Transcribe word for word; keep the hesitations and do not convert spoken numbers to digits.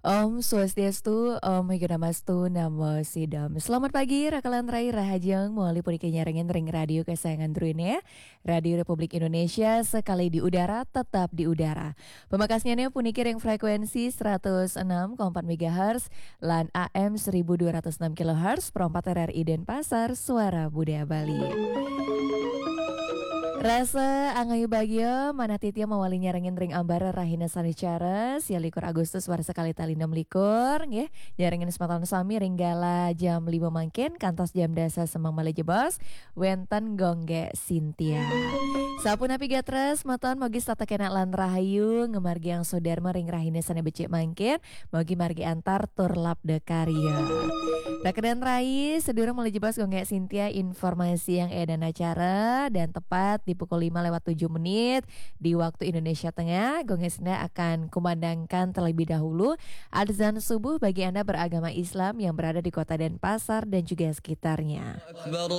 Om Swastiastu, Om Higanamas tu Namo Sidam. Selamat pagi, rakalan rai rahajeng, mawali puniki nyarengin ring radio kesayangan druene, Radio Republik Indonesia, sekali di udara, tetap di udara. Pamekasnyane puniki ring frekuensi seratus enam koma empat megahertz lan A M seribu dua ratus enam kilohertz, perempat R R I Denpasar, Suara Budaya Bali. Rasa angayu bagia, manah titiang mawali nyarengin ring ambara rahina sane cara, sia likur Agustus warsa kalih tali enam likur, nggih. Nyarengin semeton sami ring galah jam lima mangkin, kantos jam dasa semeng malih jebos, wenten Gongge Sintia. Sapunapi gatra, semeton, mugi setata kenak lan rahayu, ngamargiang swadharma ring rahina sane becik mangkin, mugi margi antar tur labda karya. Rakalan rai, sadurung malih jebos Gongge Sintia informasi yang edan acara, dan tepat di pukul lima lewat tujuh menit di waktu Indonesia Tengah, Gongge Sintia akan kumandangkan terlebih dahulu azan subuh bagi Anda beragama Islam yang berada di Kota Denpasar dan juga sekitarnya.